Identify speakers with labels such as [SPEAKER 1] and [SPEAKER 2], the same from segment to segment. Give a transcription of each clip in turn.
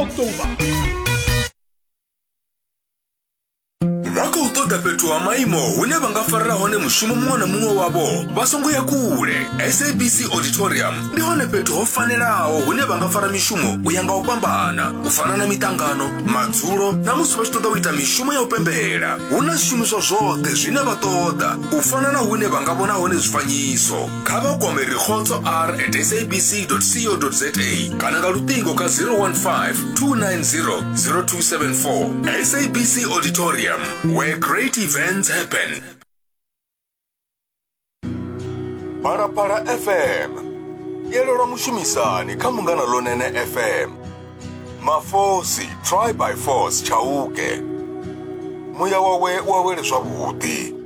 [SPEAKER 1] October.
[SPEAKER 2] Vha khou ṱoḓa fhethu ha maimo hune vha nga farela hone mushumo muṅwe na muṅwe wavho vha songo ya kule. SABC Auditorium ndi hone fhethu ho fanelaho hune vha nga fara mishumo u ya nga u fhambana, u fana na miṱangano, madzulo na musi vha tshi ṱoḓa u ita mishumo ya u pembela. Hu na zwishumiswa zwoṱhe zwine vha ṱoḓa, u fana na hune vha nga vhona hone zwifanyiso. Kha vha kwame Rikhotso R at sabc co za kana nga luṱingo kha 015 290 0274. SABC Auditorium, where great events happen. Phalaphala FM yelelwa mushumisani kha Munghana Lonene FM. Mafosi try by force Chauke. Muya wawe u awele zwavhuḓi.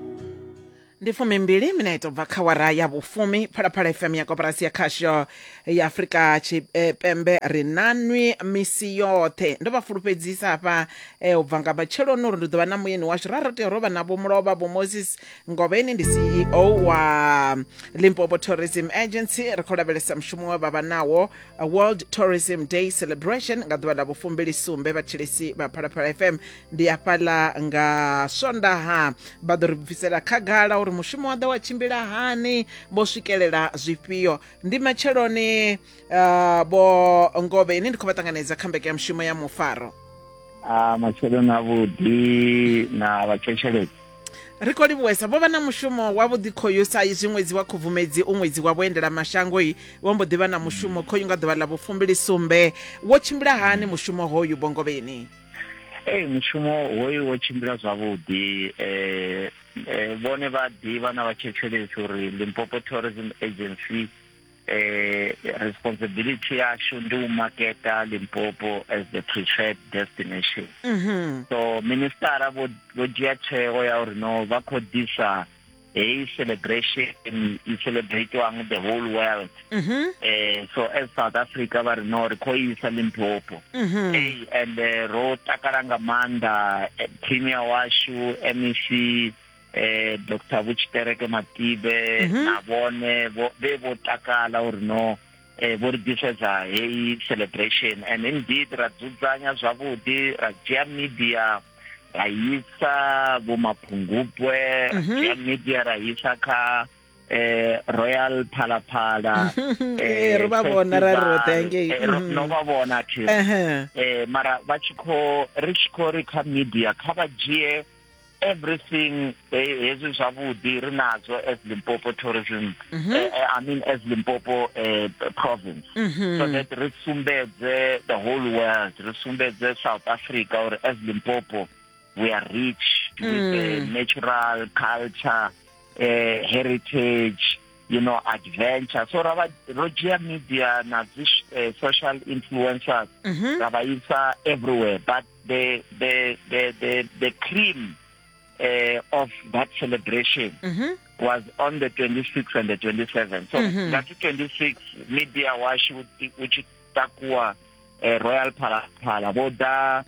[SPEAKER 3] Ndi fumimbili minete ubva kha wara ya vhufumi. Phalaphala FM ya koporasi ya khasho ya Afrika Tshipembe ri nanwi misi yoṱhe. Ndo vha fulufhedzisa hafha eh, ubva nga matsheloni uri ndi ḓo vha na muyeni washu. Ra ro tea ro vha na Vho Mulovha Vho Moses Ngovheni, ndi CEO wa Limpopo Tourism Agency. Ri khou lavhelesa mushumo we vha vha nawo World Tourism Day Celebration nga ḓuvha ḽa vhufumbili sumbe. Vhathetshelesi vha Phalaphala FM ndi hafhaḽa nga Swondaha vha ḓo ri bvisela khagala uri mushumo wa ḓo wa tshimbila hani, vho swikelela zwifhio. Ndi matsheloni uh, vho Ngovhe, ini ndi khou vha ṱanganedza kha mbekanyamushumo ya mufaro.
[SPEAKER 4] A matsheloni avhuḓi na vhathetshelesi.
[SPEAKER 3] Ri khou livhuwesa. Vho vha na mushumo wavhuḓi khoyu sa izwi ṅwedzi wa Khubvumedzi u ṅwedzi wa vhuendelamashango-i, vho mbo ḓi vha na mushumo khoyu nga ḓuvha ḽa vhufumbili sumbe. Wo tshimbila hani mushumo hoyu Vho Ngovheni?
[SPEAKER 4] Ee, mushumo hoyu wo tshimbila zwavhuḓi. Eh, eh, vhone vha ḓivha na vhathetshelesi uri Limpopo Tourism Agency eh, responsibility yashu ndi u maketa Limpopo as the preferred destination.
[SPEAKER 3] Mm -hmm.
[SPEAKER 4] So ministara vho vho dzhia tsheo ya uri no vha khou ḓisa heyi celebration i celebratiwang the whole world.
[SPEAKER 3] Mm -hmm.
[SPEAKER 4] Eh, so as South Africa vha ri no ri khou isa Limpopo.
[SPEAKER 3] Mm -hmm.
[SPEAKER 4] Hey, and ro takala nga maanḓa premier washu MEC eh Dr Vho Tshitereke Matibe
[SPEAKER 3] mm -hmm.
[SPEAKER 4] na vhone vhe vho takala uri no eh vho ri ḓisedza heyi celebration and indeed ra dzudzanya zwavhuḓi ra dzhia media ra isa vho Maphungubwe ra
[SPEAKER 3] mhm.
[SPEAKER 4] dzhia media ra isa kha eh Royal Phalaphala
[SPEAKER 3] eh ro vha vhona ra ri roṱhe ngei
[SPEAKER 4] eh, no vha vhona thi eh mara vha tshi kho ri tshi kho ri kha media kha vha dzhie everything hezwi zwavhuḓi ri nazwo as Limpopo tourism
[SPEAKER 3] mm -hmm.
[SPEAKER 4] I mean as Limpopo province
[SPEAKER 3] mm -hmm.
[SPEAKER 4] so that ri sumbedze the whole world, ri sumbedze South Africa or as Limpopo we are rich with the natural culture, heritage, you know, adventure. So ra ro dzhia media na dzi social influencers
[SPEAKER 3] mm -hmm.
[SPEAKER 4] ra vha isa everywhere, but the cream of that celebration
[SPEAKER 3] mm -hmm.
[SPEAKER 4] was on the 26th and the 27th. So
[SPEAKER 3] mm -hmm.
[SPEAKER 4] that 26 media washu u tshi takuwa Royal Phalaphala vho ḓa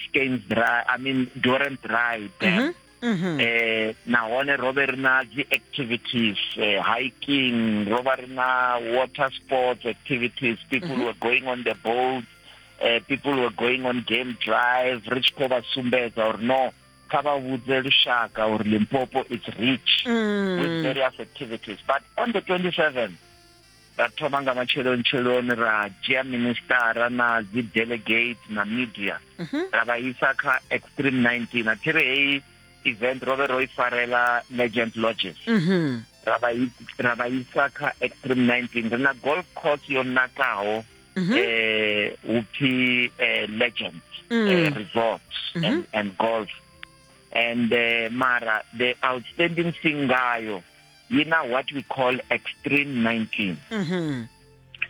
[SPEAKER 4] Skeins Dry, I mean Durant Dry Dam.
[SPEAKER 3] Mm -hmm. Mm -hmm.
[SPEAKER 4] Nahone ro vhe ri na dzi activities, hiking, ro vha ri na water sports activities, people
[SPEAKER 3] mm -hmm.
[SPEAKER 4] were going on the boat, people were going on game drive, ri tshi khou vha sumbedza uri no kha vha vhudze lushaka uri Limpopo is rich with various activities. But on the 27th ra thoma nga matsheloni tsheloni ra dzhia ministara na dzi delegate na media
[SPEAKER 3] mm -hmm.
[SPEAKER 4] ra vha isa kha Extreme 19. A thi ri heyi event ro vhe ro i farela Legend Lodges.
[SPEAKER 3] Mm -hmm.
[SPEAKER 4] Ra vha isa kha Extreme 19. Ri na golf course yo nakaho
[SPEAKER 3] mm -hmm.
[SPEAKER 4] upfi Legend Resort and golf. And mara the outstanding thing ngayo yi na what we call Extreme 19.
[SPEAKER 3] Mm -hmm.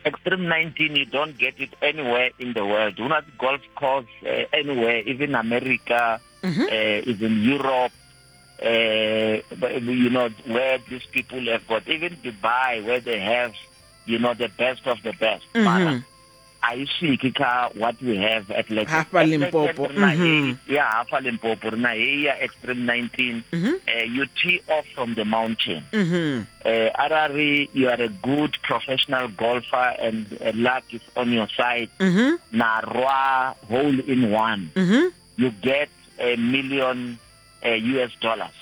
[SPEAKER 4] Extreme 19, you don't get it anywhere in the world. Hu na dzi golf course anywhere, even America,
[SPEAKER 3] mm -hmm.
[SPEAKER 4] Even Europe, you know, where these people have got, even Dubai, where they have, you know, the best of the best.
[SPEAKER 3] Mm -hmm.
[SPEAKER 4] A i swiki kha what we have at Legend.
[SPEAKER 3] Hafha Limpopo.
[SPEAKER 4] Ya hafha Limpopo ri na heyi ya Extreme 19. You tee off from the mountain. Arali you are a good professional golfer and luck is on your side, na rwa hole in one, you get a million US dollars.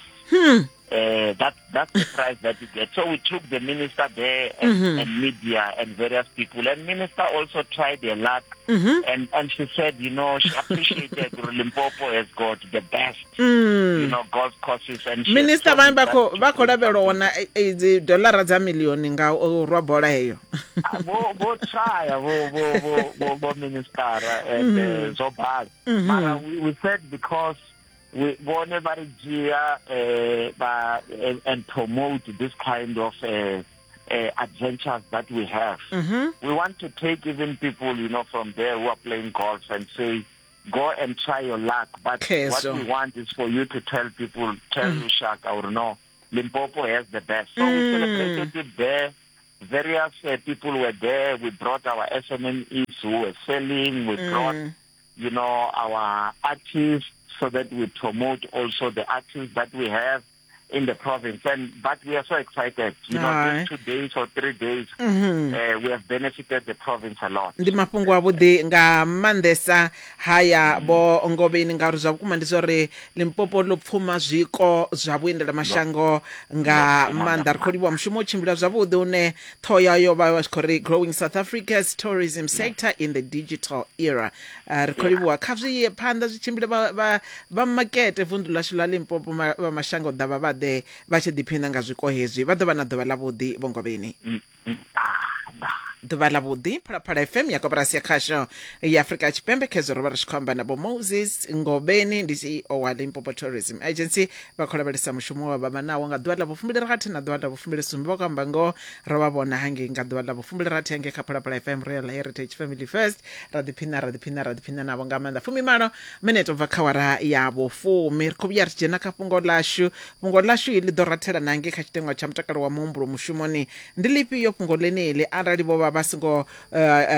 [SPEAKER 4] That's the price that you get. So we took the minister there and, and media and various people. And minister also tried their luck. And she said, you know, she appreciated Limpopo has got the best, golf courses. And she
[SPEAKER 3] Minister
[SPEAKER 4] has
[SPEAKER 3] vhane
[SPEAKER 4] promised
[SPEAKER 3] vha khou
[SPEAKER 4] that
[SPEAKER 3] vha khou lavhelwa wana idzi dolara dza milioni nga u rwa bola heyo.
[SPEAKER 4] Vo try vo minister and zwo bala. Mara we said because we vhone vha ri dzhia vha and promote this kind of adventures that we have. We want to take even people, from there who are playing golf and say, go and try your luck. But what
[SPEAKER 3] Khezo.
[SPEAKER 4] we want is for you to tell people, tell lushaka or no, Limpopo has the best. So we celebrated it there. Various people were there. We brought our SMMEs who were selling. We brought, our artists so that we promote also the artists that we have in the province. But we are so excited.
[SPEAKER 3] Aye.
[SPEAKER 4] These 2 days or 3 days, we have benefited the province a lot.
[SPEAKER 3] Ndi mafhungo avhuḓi nga maanḓesa haya vho Ngovheni, ngauri zwa vhukuma ndi zwori Limpopo ḽo pfuma zwiko zwa vhuendela mashango nga maanḓa. Ri khou livhuwa mushumo u tshimbila zwavhuḓi une ṱhoho yayo vha vha tshi khou ri Growing South Africa's Tourism Sector in the Digital Era. Ri khou livhuwa, kha zwi ye phanḓa zwi tshimbile vha makete vunḓu ḽashu ḽa Limpopo, vha mashango ḓavha vha ḓe vha tshi ḓiphina nga zwiko hezwi. Vha ḓo vha na ḓuvha ḽavhuḓi vho Ngovheni. Ḓuvha ḽavhuḓi. Phalaphala FM ya koporasi ya khasho ya Afrika Tshipembe. Khezwo ro vha ri tshi khou amba na vho Moses Ngovheni, ndi CEO wa Limpopo Tourism Agency. Vha khou lavhelesa mushumo wa vha vha nawo nga ḓuvha ḽa vhufumbilirathi na ḓuvha ḽa vhufumbilisumbe. Vha khou amba ngoho, ro vha vhona hangei nga ḓuvha ḽa vhufumbilirathi hangei kha Phalaphala FM Royal Heritage Family First. Ra ḓiphina, ra ḓiphina, ra ḓiphina navho nga maanḓa. 18 minete ubva kha wara ya vhufumi. Ri khou vhuya ri tshi dzhena kha fhungo ḽashu. Fhungo ḽashu iḽi ḓo rathela na ngei kha tshiteṅwa tsha mutakalo wa muhumbulo mushumoni. Ndi ḽifhio fhungo ḽeneḽi arali vho vha vha songo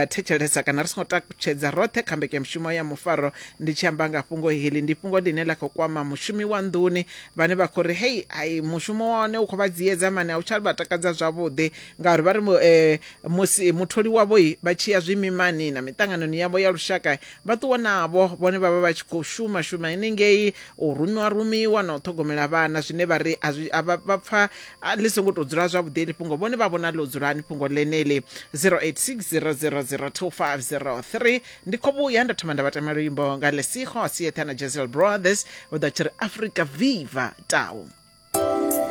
[SPEAKER 3] thetshelesa kana ri songo takutshedza roṱhe kha mbekanyamushumo ya mufaro? Ndi tshi amba nga fhungo heḽi, ndi fhungo ḽine ḽa khou kwama mushumi wa nḓuni vhane vha khou ri hei ai mushumo wa hone u khou vha dziedza mani, a u tsha vha takadza zwavhuḓi, ngauri vha ri musi mutholi wavho vha tshi ya zwimimani na miṱanganoni yavho ya lushaka vha ṱuwa navho, vhone vha vha vha tshi khou shuma shuma henengei, u rumiwa rumiwa na u ṱhogomela vhana, zwine vha ri vha pfa ḽi songo tou dzula zwavhuḓi heḽi fhungo. Vhone vha vhona ḽo dzulani fhungo ḽeneḽi? 0860002503. Ndi khou vhuya nda thoma nda vha tama luimbo nga Lesigo Sietha na Jezel Brothers, vho ḓa tshi ri Africa Viva Tau.